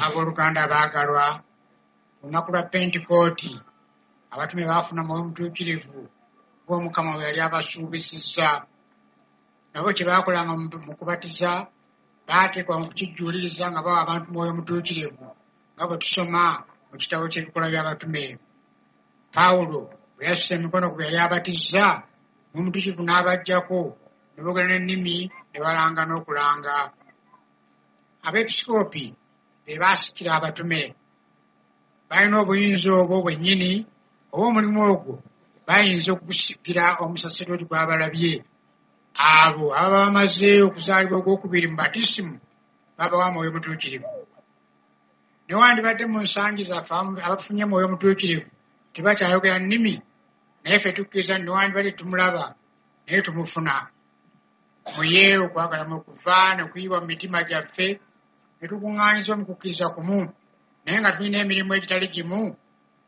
Abooluganda abaagalwa, ku lunaku lwa Pentekooti abatume baafuna Mwoyo Mutuukirivu ng'Omukama bwe yali abasuubisizza. Nabo kye baakolanga mu kubatiza baateekwa okukijjuuliriza nga bawa abantu Mwoyo Mutuukirivu nga bwe tusoma mu kitabo ky'Ebikolwa by'Abatume. Pawulo bwe yassa emikono ku be yali abatizza, Mwoyo Mutuukirivu n'abajjako ne boogera n'ennimi ne balanga n'okulanga. Abeepisikoopi be baasikira abatume. Balina obuyinza obwo bwennyini oba omulimu ogwo bayinza okugusigira omusaserdooti gw'abalabye. Abo ababa bamaze okuzaalibwa ogwokubiri mu batisimu babawa Mwoyo Mutuukirivu. Newandibadde mu nsangi zaffe abafunye Mwoyo Mutuukirivu tebakyayogera nnimi, naye ffe tukkiriza nti newandibadde tumulaba naye tumufuna. Muye okwagala mwe kuva ne kuyibwa mu mitima gyaffe ne tukuŋŋaanyizibwa mu kukkiriza kumu, naye nga tulina emirimu egitali gimu,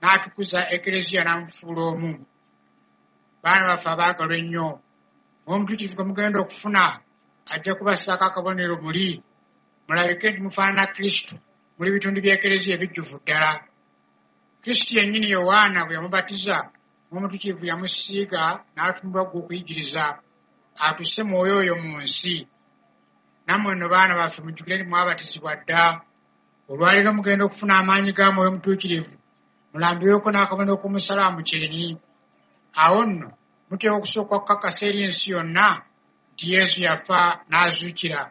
n'atukuza Ekereziya n'amufuula omu. Baana baffe abaagalwa ennyo, Mwoyo Mutuukirivu gwe mugenda okufuna ajja kubassaako akabonero muli, mulabike nti mufaanana Kristo, muli bitundu by'Ekereziya ebijjuvu ddala. Kristo yennyini Yowaana bwe yamubatiza, Mwoyo Mutuukirivu yamusiiga n'atumibwa ggwe okuyigiriza, atuuse Mwoyo oyo mu nsi. Nammwe nno baana baffe mujjukire nti mwabatizibwa dda. Olwaleero mugenda okufuna amaanyi ga Mwoyo Mutuukirivu, mulambibweko n'akabonero k'omusaalaba mu kyenyi. Awo nno muteekwa okusooka okukakasa eri ensi yonna nti Yesu yafa n'azuukira.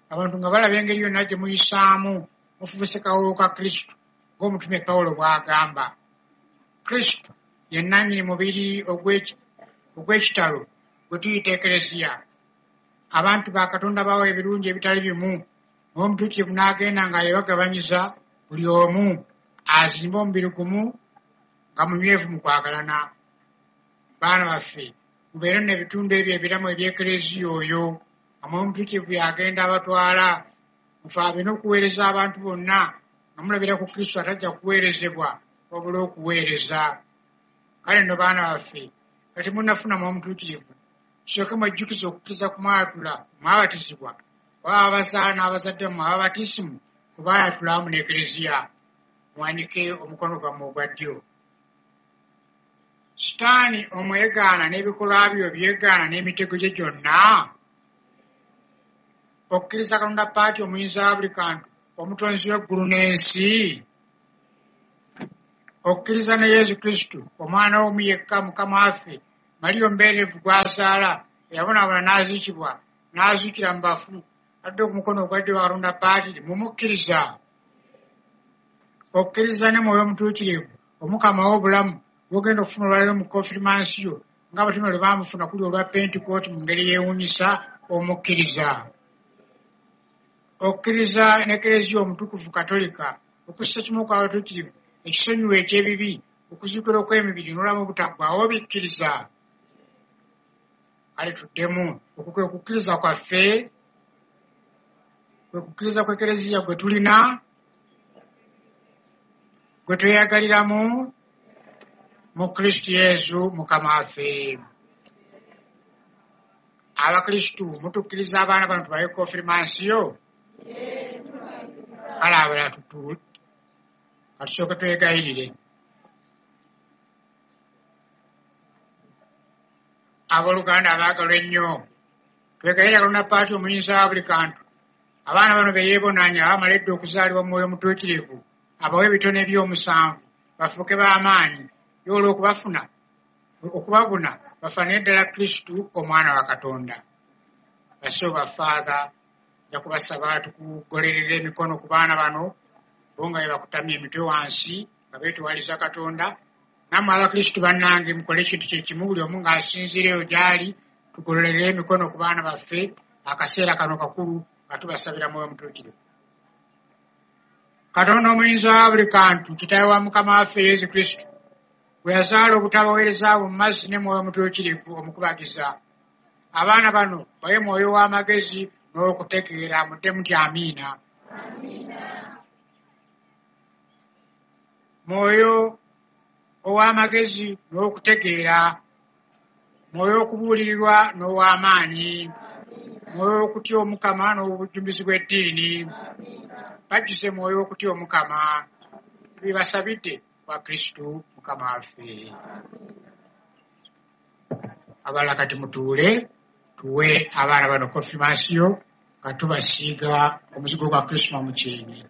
Abantu nga balaba engeri yonna gye muyisaamu mufuuse kawoowo ka Kristo ng'omutume Pawulo bw'agamba. Kristo ye nnannyini mubiri ogw'ekitalo gwe tuyita Ekereziya. Abantu ba Katonda bawa ebirungi ebitali bimu, Mwoyo Mutuukirivu n'agenda nga yebagabanyiza buli omu azimbe omubiri gumu nga munywevu mu kwagalana. Baana baffe, mubeere nno ebitundu ebyo ebiramu eby'Ekereziya oyo, nga Mwoyo Mutuukirivu y'agenda abatwala. Mufaabe n'okuweereza abantu bonna nga mulabira ku Kristo atajja kuweerezebwa wabula okuweereza. Kale nno baana baffe, nga temunnafuna Mwoyo Mutuukirivu, tusooke mwejjukize okukkiriza ku mwayatula mwabatizibwa, oba abazaala n'abazadde bammwe ababatisimu kwe baayatula awamu n'Ekereziya. Muwanike omukono gwammwe ogwa ddyo. Sitaani omwegaana n'ebikolwa bye obyegaana n'emitego gye gyonna? Okkiriza Katonda Paati omuyinza wa buli kantu, omutonzi w'eggulu n'ensi? Okkiriza ne Yesu Kristo, omwana we omu yekka Mukama waffe, Mariya omubeerevu gw'azaala, eyabonaabona n'aziikibwa, n'azuukira mu bafu, atudde ku mukono ogwa ddyo wa Katonda Paatiri, mumukkiriza? Okkiriza ne Mwoyo Mutuukirivu, Omukama w'obulamu, gw'ogenda okufuna olwaleero mu konfirmansiyo, ng'abatume lwe baamufuna kuli olwa Pentekooti mu ngeri yeewuunyisa, omukkiriza? Okkiriza n'Ekereziya Omutukuvu Katolika, okussa kimu okw'abatuukirivu, ekisonyiwo eky'ebibi, okuzuukira okw'emibiri n'obulamu obutaggwaawo obikkiriza? Kale tuddemu, okwo kwe kukkiriza kwaffe, kwe kukkiriza kw'Ekereziya gwe tulina, gwe tweyagaliramu mu Kristo Yesu Mukama waffe. Abakristu mutukkiriza abaana bano tubawe konfirmansiyo? Kale abalala katusooke twegayirire. Abooluganda abaagalwa ennyo, twegayirira Katonda Paati omuyinza wa buli kantu, abaana bano be yeebonaanya abamala edda okuzaalibwa mu Mwoyo Mutuukirivu, abawe ebitone by'omusanvu bafuuke b'amaanyi, ye olw'okubafuna okubabuna bafaanane ddala Kristo omwana wa Katonda. Bassebo ba Ffaatha, nja kubasaba tukugolerera emikono ku baana bano bo nga bwe bakutamya emitwe wansi nga beetowaliza Katonda. Nammwe Abakristu bannange mukole ekintu kye kimu buli omu ng'asinziira eyo gy'ali, tugololere emikono ku baana baffe akaseera kano kakulu nga tubasabira Mwoyo Mutuukirivu. Katonda omuyinza wa buli kantu, Kitaawe wa Mukama waffe Yesu Kristo, bwe yazaala obutabaweereza bwo mu mazzi ne Mwoyo Mutuukirivu omukubagiza. Abaana bano bawe mwoyo w'amagezi n'okutegeera, muddemu nti amiina. Mwoyo ow'amagezi n'okutegeera, mwoyo okubuulirirwa n'ow'amaanyi, mwoyo okutya Omukama n'obujjumbizi bw'eddiini. Bajjuze mwoyo w'okutya Omukama. Tubibasabidde kwa Kristu Mukama waffe. Abalala kati mutuule tuwe abaana bano konfirmasiyo nga tubasiiga omuzigo gwa Krisma mu kyenyi.